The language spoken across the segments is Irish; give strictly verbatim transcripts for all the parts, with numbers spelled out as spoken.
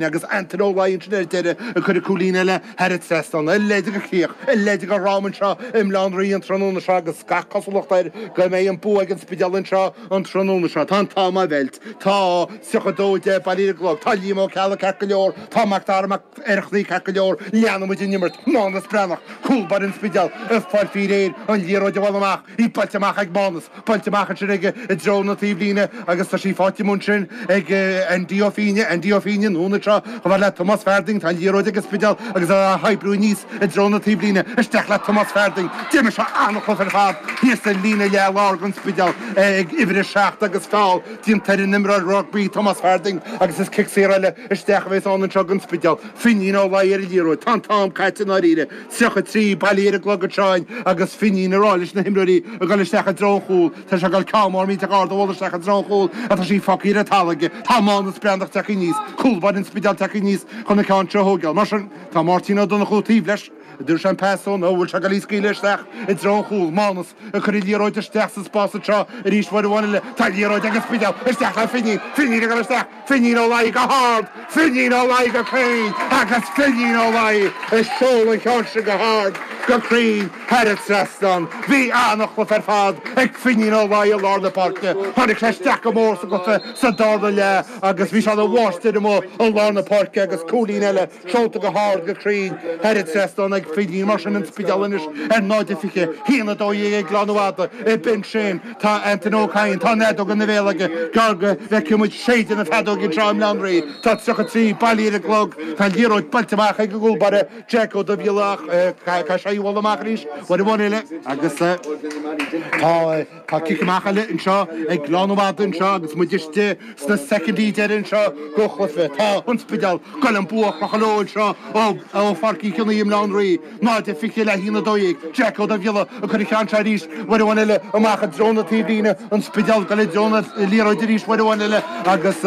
Agus Anton Ó Laighin sin ar deireadh ag cur cúilín eile thar an trasnán, a leithéid de chríoch, a leithéid de dhráma anseo i mBaile Átha an Rí an tráthnóna seo agus gach cosúlacht air go mbeidh an bua ag an Spidéal anseo an tráthnóna seo. Tá an t-am á mheilt. Tá tríocha dó deich bailithe ar an gclog. Tá Liam Ó Ceallaigh ceart go leor. Tá Mac Dara Mac Oireachtaigh ceart go leor. Leanfaidh muid an imirt. Mánas Breathnach, cúl báire an Spidéil, ag fáil faoi réir an liathróid a bhualadh amach. Í buailte amach ag Mánas. Buailte amach ansin aige i dtreo na taobhlíne agus tá sí faighte amuigh ansin ag Andy Ó Fínne, Andy Ó Fínne, anonn anseo chomh fada le Tomás Farding, tá an liathróid ag an Spidéal agus á hoibriú aníos i dtreo na taobhlíne, isteach le Tomás Farding. D'imir sé an-chluiche ar fad thíos sa líne leath láir don Spidéal ag uimhir a seacht agus feall déanta ar an imreoir rugbaí Tomás Farding agus is cic saor eile isteach a bheas ann anseo don Spidéal. Finín Ó Laoi ar an liathróid. Tá an t-am caite i ndáiríre. tríocha trí bailithe ar an gclog anseo agus Finín ag rá leis na himreoirí ag dul isteach i dtreo an chúil. Tá sé ag dul ceann mór millteach ard a bhualadh isteach i dtreo an chúil ach tá sí fágtha ar an talamh aige. Tá Mánas Breathnach tagtha aníos, cúl báire an Spidéil tagtha aníos chun an ceann seo a thógáil. Mar sin, tá Máirtín Ó Donnchú taobh leis. An dtabharfaidh sé an pas dó nó an bhfuil sé ag dul í a scaoileadh isteach i dtreo an chúil. Mánas ag cur an liathróid isteach sa spás anseo arís uair amháin eile. Tá an liathróid ag an Spidéal. Isteach le Finín. Finín ag dul isteach. Finín Ó Laoi go hard. Finín Ó Laoi go cruinn agus Finín Ó Laoi ag seoladh an cheann sin go hard, go cruinn thar an trasnán. Bhí an-chluiche ar fad ag Finín Ó Laoi i lár na páirce. Tháinig sé isteach go mór sa gcluiche sa darna leath agus bhí sé ina mháistir amuigh i lár na páirce agus cúilín eile seolta go hard, go cruinn thar an trasnán ag Finín. Mar sin an Spidéal anois ar náid a fiche, haon a dó dhéag ag Gleann Fhada. B'in sin. Tá Antaine Ó Cadhain, tá an fheadóg ina bhéal aige, gearr go bhfeicfidh muid séideadh na feadóige anseo i mBaile Átha an Rí. Tá tríocha trí bailithe ar an gclog. Tá an liathróid buailte amach ag an gcúl báire Jack Ó Dubhghiolla ach caithfidh sé í a bhualadh amach arís uair amháin eile agus tá tá cic amach eile anseo ag Gleann Fhada anseo agus muid istigh sna soicindí deiridh anseo den chluiche. Tá an Spidéal ag goil an bua a chrochadh leo anseo ó Pháirc Uí Chionnaith i mBaile Átha an Rí. Náid a fiche le haon a dó dhéag. Jack Ó Dubhghiolla ag cur an cheann seo arís uair amháin eile amach i dtreo na taobhlíne. An Spidéal ag goil i dtreo na liathróide arís uair amháin eile agus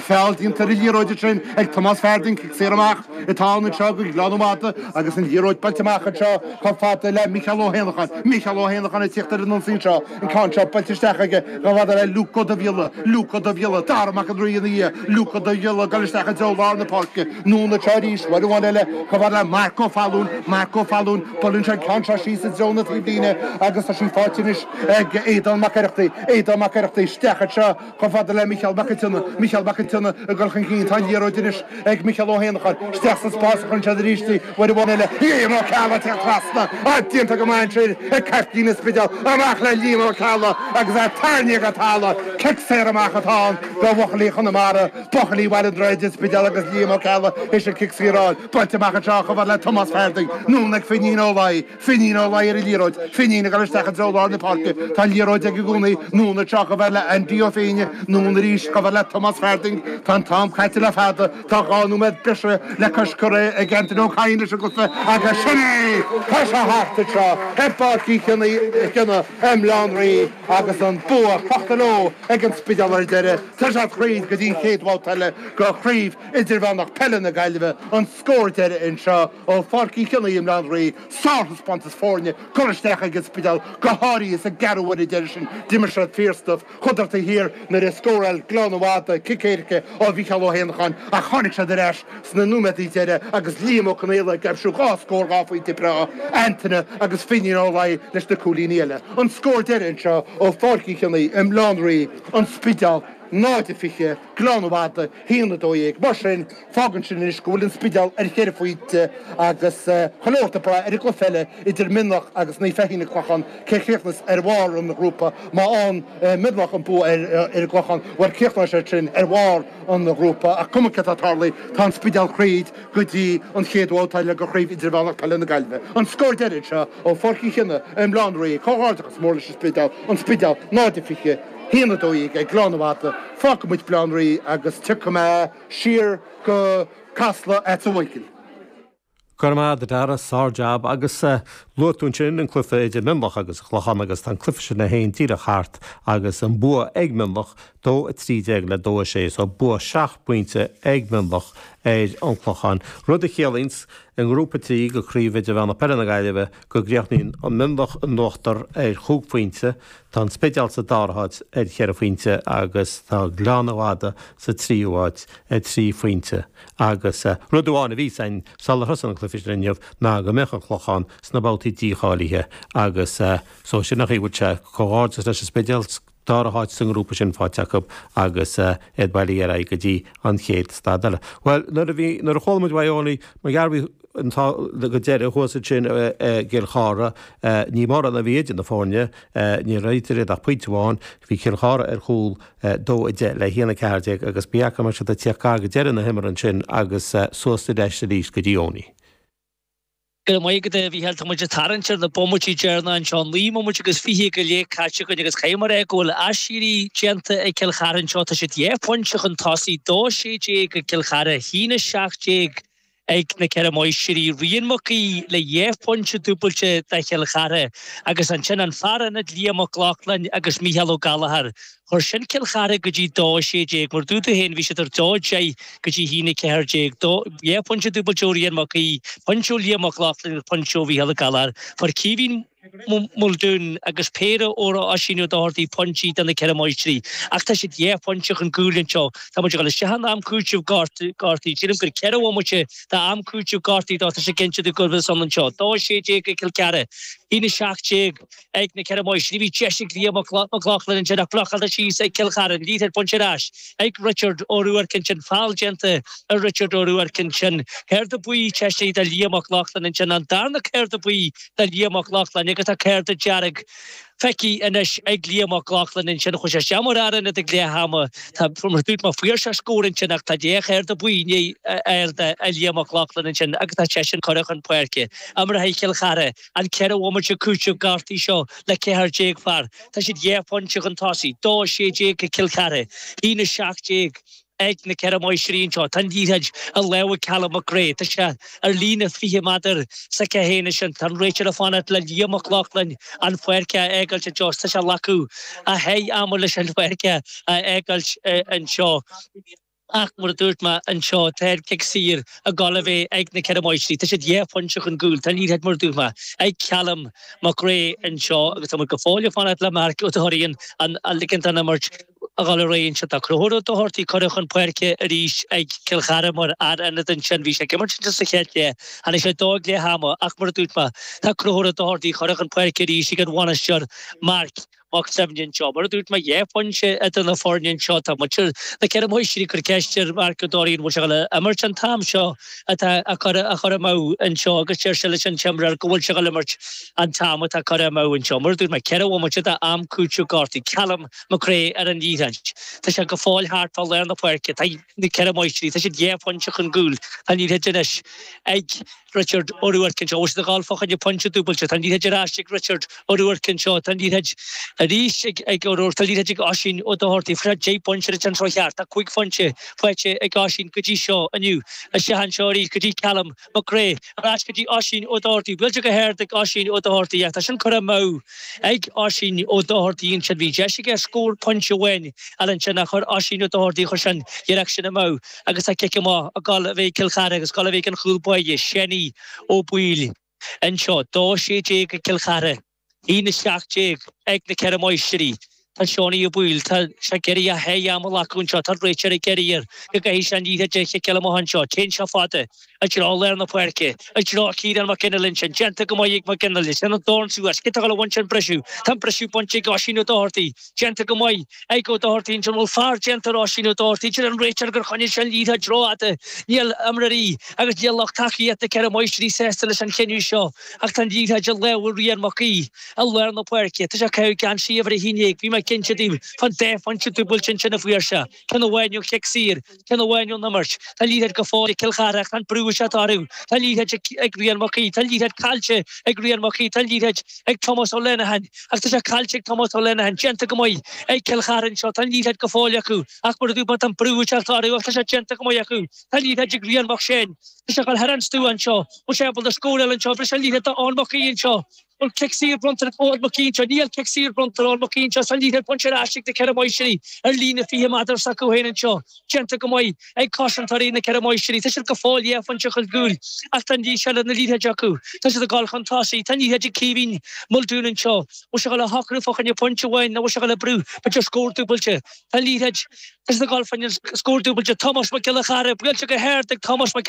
feall déanta ar an liathróid ansin ag Tomás Farding. Cic saor amach atá ann anseo do Ghleann Fhada agus an liathróid buailte amach anseo chomh fada le Micheál Ó hÉanacháin. Micheál Ó hÉanacháin ag tíocht ar an ionsaí anseo. An ceann seo buailte isteach aige chomh fada le Luke Ó Dubhghiolla. Luke Ó Dubhghiolla, Dara Mac an Rí ina dhiaidh. Luke Ó Dubhghiolla ag goil isteach i dtreo lár na páirce. Anonn anseo arís, uair amháin eile, chomh fada le Marc Ó Fallúin, Marc Ó Fallúin, buaileann sé an ceann seo síos i dtreo na taobhlíne agus tá sí faighte anois ag Aodán Mac Oireachtaigh, Aodán Mac Oireachtaigh, isteach anseo chomh fada le Micheál Mac an tSionnaigh, Micheál Mac an tSionnaigh ag dul chun cinn, tá an liathróid anois ag Micheál Ó hÉanacháin, isteach sa spás a chuireann siad arís í, uair amháin eile, Liam Ó Ceallaigh ag teacht trasna, á déanta go maith ansin ag caiptín an Spidéil, amach le Liam Ó Ceallaigh agus é tarraingthe go talamh, cic saor amach atá ann do bhuachaillí Chonamara. Buachaillí Bhaile an Droichid, an Spidéal agus Liam Ó Ceallaigh théis an cic saor a fháil. Buailte amach anseo chomh fada le Tomás Farding. Anonn ag Finín Ó Laoi. Finín Ó Laoi ar an liathróid. Finín ag dul isteach i dtreo lár na páirce. Tá an liathróid aige i gcónaí. Anonn anseo chomh fada le Andy Ó Féinne. Anonn arís chomh fada le Tomás Farding. Tá an t-am caite le fada. Tá dhá nóiméad breise le cois curtha ag Antaine Ó Cadhain leis an gcluiche agus sin é! Tá sé thart anseo i bPáirc Uí Chionnaith i mBaile Átha an Rí agus an bua crochta leo ag an Spidéal ar deireadh. Tá siad thríd go dtí an chéad bhabhta eile de Chraobh Idirmheánach Peile na Gaillimhe, an scór deiridh anseo ó Pháirc Uí Chionnaith i mBaile Átha an Rí. Sárthaispeántas foirne curtha isteach ag an Spidéal, go háirithe sa gceathrú uaire deiridh sin. D'imir siad fíorstuif. Chuadar taobh thiar nuair a scóráil Gleann Fhada cic éirice ó Mhícheál Ó hÉanacháin ach tháinig siad ar ais sna nóiméadaí deiridh agus Liam Ó Conaola ag aimsiú dhá scór dhá phointe breá, Antaine agus Finín Ó Laoi leis na cúilíní eile. An scór deiridh anseo ó Pháirc Uí Chionnaith i mBaile Átha an Rí. An Spidéal, náid a fiche, Gleann Fhada, haon a dó dhéag. Mar sin, fágann sin anois go bhfuil An Spidéal ar cheithre phointe agus chuile shórt ag brath ar an gcluiche eile idir Mionlach agus Naomh Feichín an Clochán, cé chríochnas ar bharr an ghrúpa. Má fhaigheann Mionlach an bua ar an gClochán, bhuel críochnóidh siad sin ar bharr an ghrúpa. Ach cuma céard atá tarlaithe, tá An Spidéal thríd go dtí an chéad bhabhta eile de Chraobh Idirmheánach Peile na Gaillimhe. An scór deiridh anseo ó Pháirc Uí Chionnaith i mBaile Átha an Rí. Comhghairdeachas mór leis an Spidéal. An Spidéal, náid a fiche. haon a dó dhéag ag Gleann Fhada, fágfaidh muid Baile Átha an Rí agus tiocfaidh mé siar go Casla agatsa a Mhichíl. Go raibh maith agat a Dhara, sár-jab agus luaigh tú ansin an cluiche idir Mionlach agus an Clochán agus tá an cluiche sin é féin díreach thart agus an bua ag Mionlach, dó a trí déag le dó a sé, so bua seacht bpointe ag Mionlach ar an Clochán. Rud a chiallaíonns i ngrúpa trí de Chraobh Idirmheánach Peile na Gaillimhe go gcríochnaíonn an Mionlach in uachtar ar chúig phointe, tá an Spidéal sa dara háit ar cheithre phointe agus tá Gleann Fhada sa tríú háit ar trí phointe. Agus rud amháin a bhí ann sular thosaigh an cluiche sin inniu ná go mbeadh an Clochán sna babhtaí dícháilithe agus so sin an chaoi a bhfuil sé comhghairdeas leis an Spidéal dara háit sa ngrúpa sin faighte acu agus iad bailithe ar aghaidh go dtí an chéad staid eile. Bhuel, nuair a bhí, nuair a chuala muid uaidh Eoiní, mar gheall bhí an t-ádh go deireadh thuas ansin i gCill Chartha, ní mórán a bhí idir na foirne, ní raibh idir iad ach pointe amháin, bhí Cill Chartha ar chúl dó a deich le haon a ceathair déag agus ní fhaca mé siad ag tíocht gar go deireadh na himeartha ansin agus suas ar ais arís go dtí Eoiní. Go raibh maith agat a Mhícheáil, tá muid ag tarraingt ar na bomaití deireanacha anseo, naoi mbomaite agus fiche go leith caite againn agus caithfidh mé a rá go bhfuil aiséirí déanta ag Cill Chartha anseo. Tá siad dhá phointe chun tosaigh, dó sé déag ag Cill Chartha, a haon a seacht déag ag na Ceithre Máistrí, Rian Mac Aoidh le dhá phointe dúbailte do Chill Chartha agus ansin an fear ionaid Liam Mac Lochlainn agus Mícheál Ó Gallchóir. Chuir sin Cill Chartha go dtí dó sé déag, mar dúirt tú féin bhí siad ar dó deich go dtí haon a ceathair déag. Dhá phointe dúbailte ó Rian Mac Aoidh, pointe ó Liam Mac Lochlainn agus pointe ó Mhícheál Ó Gallchóir. Fuair Caoimhín Muldoon agus péire ó Oisín Ó Dochartaigh pointí do na Ceithre Máistrí. Ach tá siad dhá phointe chun cúil anseo. Tá muid ag dul isteach in am cúitimh gortaithe. Sílim gur ceithre bhomaite d'am cúitimh gortaithe dó. Tá sé cinnte de go bhfuil san anseo. Dó sé déag ag Cill Chartha, haon a seacht déag ag na Ceithre Máistrí. Bhí deis ag Liam Mac Lochlainn ansin ach blocáilte síos ag Cill Chartha. An liathróid bainte ar ais ag Richard Ó Ruairc ansin. Feall déanta ar Richard Ó Ruairc ansin. Cárta buí teisithe do Liam Mac Lochlainn ansin. An darna cárta buí do Liam Mac Lochlainn agus tá cárta dearg feicthe anois ag Liam Mac Lochlainn ansin. Chuaigh sé isteach mar fhear ionaid ag leath ama. Tá mar dúirt mé fuair sé scór ansin ach tá dhá chárta buí i ndiaidh a fháil do Liam Mac Lochlainn ansin agus tá seisean curtha chun páirce. Imreoidh Cill Chartha an ceithre bhomaite cúitimh gortaithe seo le ceathair déag fear. Tá siad dhá phointe chun tosaigh, dó sé déag ag Cill Chartha, haon a seacht déag ag na Ceithre Máistrí anseo. Tá an liathróid i lámha Callum McRae. Tá sé ar líne fiche méadar s'aige féin ansin. Tá an réiteoir ag fanacht le Liam Mac Lochlainn an pháirc a fhágáilt anseo. Tá sé ag glacadh a sháith ama leis an pháirc a fhágáilt anseo. Ach mar a dúirt mé anseo, tá cic saor ag dul a bheith ag na Ceithre Máistrí. Tá siad dhá phointe chun cúil. Tá an liathróid mar a dúirt mé ag Callum McRae anseo agus tá muid go fóill ag fanacht le Marc Ó Dochartaigh an a ligint an imirt a dhul ar aghaidh anseo. Tá Conchúr Ó Dochartaigh curtha chun páirce arís ag Cill Chartha mar fhear ionaid ansin. Bhí sé ag imirt ansin sa chéad leath. Tháinig sé dó ag leath ama ach mar a dúirt mé, tá Conchúr Ó Dochartaigh curtha chun páirce arís ag an bhainisteoir Marc Mac Suibhne anseo. Mar a dúirt mé, dhá phointe idir na foirne anseo. Tá muintir na Ceithre Máistrí ag cur ceist ar Mharc Ó Dochartaigh an bhfuil sé ag dul a imirt an t-am seo atá á chur amú anseo agus deir sé leis an t-imreoir go bhfuil sé ag dul a imirt an t-am atá curtha amú anseo. Mar a dúirt mé, ceithre bhomaite d'am cúitimh gortaithe. Callum McRae ar an liathróid. Tá sé go fóill thart fá lár na páirce. Tá na Ceithre Máistrí, tá siad dhá phointe chun cúil. Tá an liathróid anois ag Richard Ó Ruairc anseo. Bhfuil siad ag dul fá choinne pointe dúbailte. Tá an liathróid ar ais ag Richard Ó Ruairc anseo. Tá an liathróid arís ag ag Ó Ruairc. Tá an liathróid ag Oisín Ó Dochartaigh. Fuair sé deich bpointe ar an treo cheart. Tá cúig phointe faighte ag Oisín go dtí seo inniu. Isteach anseo arís go dtí Callum McRae. Ar ais go dtí Oisín Ó Dochartaigh. Buailte go hard ag Oisín Ó Dochartaigh. Ach tá sin curtha amú ag Oisín Ó Dochartaigh ansin. Bhí deis aige scór pointe amháin eile ansin ach chuir Oisín Ó Dochartaigh chuir sé an iarracht sin amú agus tá cic amach ag dul a bheith ag Cill Chartha agus ag dul a bheith ag an chúl báire, Seanie Ó Baoill anseo. Dó sé déag ag Cill Chartha, aon a seacht déag ag na Ceithre Máistrí. Tá Seanie Ó Baoill, tá sé ag iarraidh a sháith ama a ghlacadh anseo, tá an réiteoir ag iarraidh air go gcaithfidh sé an liathróid a chiceáil amach anseo. Téann sé fada i dtreo lár na páirce, i dtreo Ciarán Mac Fhionnghaile ansin. Déanta go maith ag Mac Fhionnghaile. Sin an dorn suas. Cé atá ag dul a bhaint an briseadh? Tá an briseadh bainte ag Oisín Ó Dochartaigh. Déanta go maith ag Ó Dochartaigh ansin. Bhfuil fear déanta ar Oisín Ó Dochartaigh? Deir an réiteoir gur choinnigh sé an liathróid rófhada. Níl imreoirí agus níl lucht tacaíochta na Ceithre Máistrí sásta leis an chinneadh seo ach tá an liathróid i lámha Rian Mac Aoidh i lár na páirce. Tá sé ag caitheamh geansaí uimhir a haon déag. Bhí mé cinnte daoibh fán dá phointe dúbailte ansin a fuair sé. Ceann amháin ón chic saor, ceann amháin ón imirt. Tá an liathróid go fóill ag Cill Chartha ach tá an brú ag teacht orthu. Tá an liathróid ag Rian Mac Aoidh. Tá an liathróid caillte ag Rian Mac Aoidh. Tá an liathróid ag Tomás Ó Lenihan ach tá sé caillte ag Tomás Ó Lenihan. Déanta go maith ag Cill Chartha anseo. Tá an liathróid go fóill acu ach mar a dúirt mé tá an brú ag teacht orthu ach tá sé déanta go maith acu. Tá an liathróid ag Rian Mac Séain. Tá sé ag dul thar an stua anseo. Bhfuil sé ábalta scóráil anseo. Bhris an liathróid do Eoin Mac Aoidh anseo. Bhfuil cic saor bronnta ar Eoin Mac Uinseann? Níl cic saor bronnta ar Eoin Mac Uinseann. Tá an liathróid bainte ar ais ag na Ceithre Máistrí ar líne fiche méadar s'acu féin anseo. Déanta go maith ag cosantóirí na Ceithre Máistrí. Tá siad go fóill dhá phointe chun cúil ach tá an seilbh na liathróide acu. Tá siad ag dul chun tosaigh. Tá an liathróid ag Caoimhín Muldoon anseo. Bhfuil sé ag dul a shocrú fá choinne pointe amháin nó bhfuil sé ag dul a brú b'fhéidir scór dúbailte? Tá an liathróid. Tá siad ag dul fá choinne scór dúbailte. Tomás Mac Giolla Chearra buailte go hard ag Tomás Mac